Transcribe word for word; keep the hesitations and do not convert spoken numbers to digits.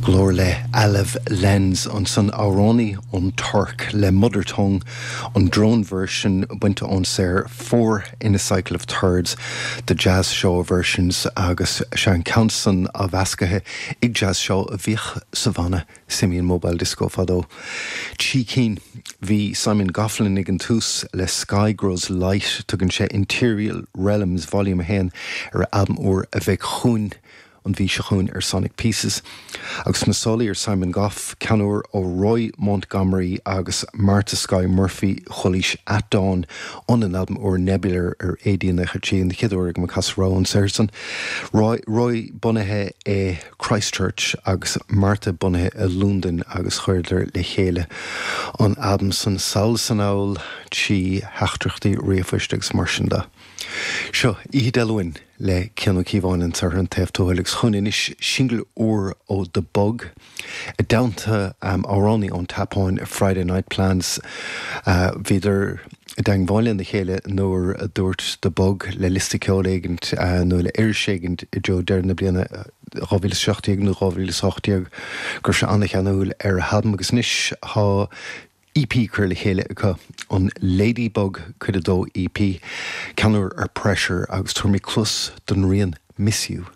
Glór le Alev Lenz ansan amhránaí ón Tuirc le Mother Tongue an drone version bainte ón saothar Four in a Cycle of Thirds the Jazz Shaw versions agus sé an ceann san athmheasctha ag Jazz Shaw a bhíodh sa bhanna Simian Mobile Disco fadó. Trí cinn bhí Simon Goflin ag an tús le Sky Grows Light tugann sé Interior Realms Volume a haon ar albam úr a bheidh chugainn an mhí seo chugainn ar Sonic Pieces. Agus na sálaí ar Simon Goff ceann úr ó Roy Montgomery agus Martha Sky Murphy chualaís At Dawn ón albam úr Nebular ar AD trí an chéad uair ag cas rá an san. Roy, Roy bunaithe i Christchurch agus Martha bunaithe i Londain agus chuireadar le chéile an albam san sall san anall trí theachtaireachtaí ríomhphoist agus mar sin de. Seo Oíche Dé Luain le Cian Ó Cíobháin an tar an taobh agus chun inis single úr ó The Bug. I dteannta um, amhránaí ón tSeapáin Friday Night Plans uh, bhíodar i dteagmháil lena chéile nuair a dúirt The Bug le liosta ceoil éigin uh, nó le iris éigin i dtreo deireadh na bliana dhá mhíle seacht déag nó dhá mhíle ocht déag go raibh sé an-cheanúil ar a albam agus anois tá EP curtha le chéile acu an Ladybug cuid a dó EP ceann úr ar Pressure agus tabharfaidh muid cluas don rian Miss You.